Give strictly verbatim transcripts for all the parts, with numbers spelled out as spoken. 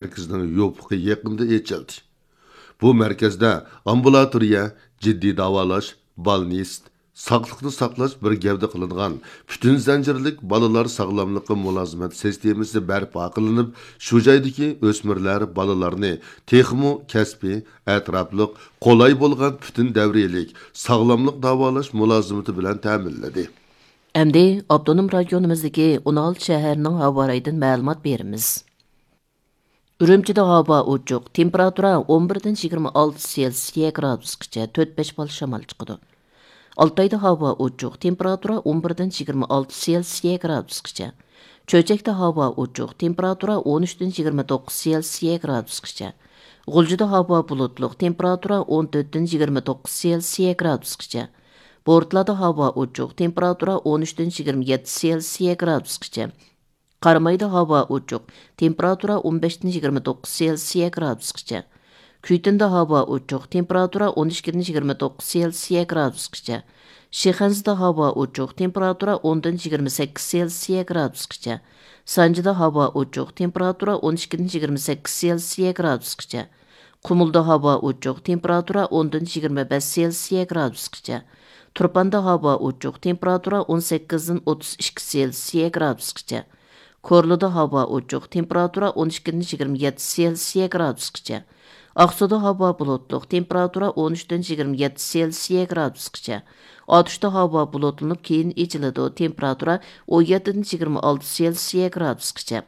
مەركىزىنىڭ يوپۇقى يېقىندا ئېچىلدى. بۇ مەركەزدە ئامبۇلاتورىيە، جىددىي داۋالاش، بالنىست، ساقلىقنى ساقلاش بىر گەۋدە قىلىنغان پۈتۈن زەنجىرلىك بالىلار ساغلاملىقى مۇلازىمەت سىستېمىسى بەرپا قىلىنىپ، شۇ جايدىكى ئۆسمۈرلەر بالىلارنى تېخىمۇ كەسپىي، ئەتراپلىق، قولاي بولغان پۈتۈن دەۋرىيلىك ساغلاملىق داۋالاش مۇلازىمىتى بىلەن تەمىنلىدى. ئەمدى ئاپتونوم رايونىمىزدىكى ئون ئالتە شەھەرنىڭ ھاۋا رايىدىن مەلۇمات بېرىمىز. ئۈرۈمچىدە ھاۋا ئوچۇق، تېمپېراتۇرا ئون بىردىن يىگىرمە ئالتە سېلسىيە گرادۇسقىچە، تۆت بەش بال شامال چىقىدۇ. ئالتايدا ھاۋا ئوچۇق، تېمپېراتۇرا ئون بىردىن يىگىرمە ئالتە سېلسىيە گرادۇسقىچە. چۆچەكتە ھاۋا ئوچۇق، تېمپېراتۇرا ئون ئۈچتىن يىگىرمە توققۇز سېلسىيە گرادۇسقىچە. غۇلجىدا ھاۋا بۇلۇتلۇق، تېمپېراتۇرا ئون تۆتتىن يىگىرمە توققۇز سېلسىيە گرادۇسقىچە. بورتالادا ھاۋا ئوچۇق، تېمپېراتۇرا ئون ئۈچتىن يىگىرمە يەتتە سېلسىيە گرادۇسقىچە. قارامايدا ھاۋا ئوچۇق، تېمپېراتۇرا ئون بەشتىن يىگىرمە توققۇز سېلسىيە گرادۇسقىچە. كۈيتۇندا ھاۋا ئوچۇق، تېمپېراتۇرا ئون ئىككىدىن يىگىرمە توققۇز سېلسىيە گرادۇسقىچە. شىخەنزىدە ھاۋا ئوچۇق، تېمپېراتۇرا ئوندىن يىگىرمە سەككىز سېلسىيە گرادۇسقىچە. سانجىدا ھاۋا ئوچۇق، تېمپېراتۇرا ئون ئىككىدىن يىگىرمە سەككىز سېلسىيە گرادۇسقىچە. قۇمۇلدا ھاۋا ئوچۇق، تېمپېراتۇرا ئوندىن يىگىرمە بەش سېلسىيە گرادۇسقىچە. تۇرپاندا ھاۋا ئوچۇق، تېمپېراتۇرا ئون سەككىزدىن ئوتتۇز ئىككى سېلسىيە گرادۇسقىچە. كورلىدا ھاۋا ئوچۇق، تېمپېراتۇرا ئون ئىككىدىن يىگىرمە يەتتە سېلسىيە گرادۇسقىچە. ئاقسۇدا ھاۋا بۇلۇتلۇق، تېمپېراتۇرا ئون ئۈچتىن يىگىرمە يەتتە سېلسىيە گرادۇسقىچە. ئاتۇشتا ھاۋا بۇلۇتلىنىپ، كېيىن ئېچىلىدۇ، تېمپېراتۇرا ئون يەتتىدىن يىگىرمە ئالتە سېلسىيە گرادۇسقىچە.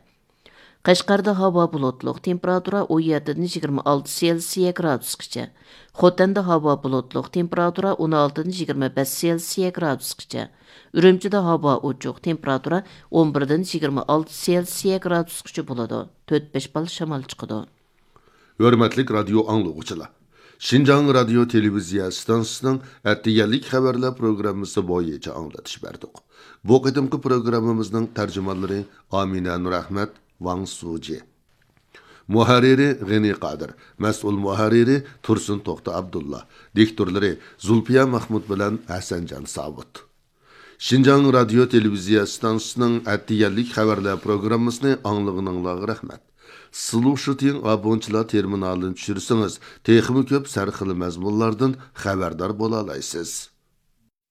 قەشقەردە ھاۋا بۇلۇتلۇق، تېمپېراتۇرا ئون يەتتىدىن يىگىرمە ئالتە سېلسىيە گرادۇسقىچە. خوتەندە ھاۋا بۇلۇتلۇق، تېمپېراتۇرا ئون ئالتىدىن يىگىرمە بەش سېلسىيە گرادۇسقىچە. ئۈرۈمچىدە ھاۋا ئوچۇق، تېمپېراتۇرا ئون بىردىن يىگىرمە ئالتە سېلسىيە گرادۇسقىچە بولىدۇ. تۆت بەش بال شامال چىقىدۇ. ھۆرمەتلىك رادىيو ئاڭلىغۇچىلار! شىنجاڭ رادىيو تېلېۋىزىيە ئىستانسىسىنىڭ ئەتىگەنلىك خەۋەرلەر پروگراممىسى بويىچە ئاڭلىتىش بەردۇق. بۇ قېتىمقى پروگراممىمىزنىڭ تەرجىمانلىرى ئامىنە نۇرئەخمەت، ۋاڭ سۇجى. مۇھەررىرى غېنى قادىر، مەسئۇل مۇھەررىرى تۇرسۇن توختى ئابدۇللا، دىكتورلىرى زۇلپىيە مەخمۇت بىلەن ھەسەنجان ساۋۇت. شىنجاڭ رادىيو تېلېۋىزىيە ئىستانسىسىنىڭ ئەتىگەنلىك خەۋەرلەر پروگراممىسىنى ئاڭلىغىنىڭلارغا رەھمەت. سلۇشىتىڭ ئابونچىلار تېرمىنالىنى چۈشۈرسىڭىز، تېخىمۇ كۆپ سەرخىل مەزمۇنلاردىن خەۋەردار بولالايسىز.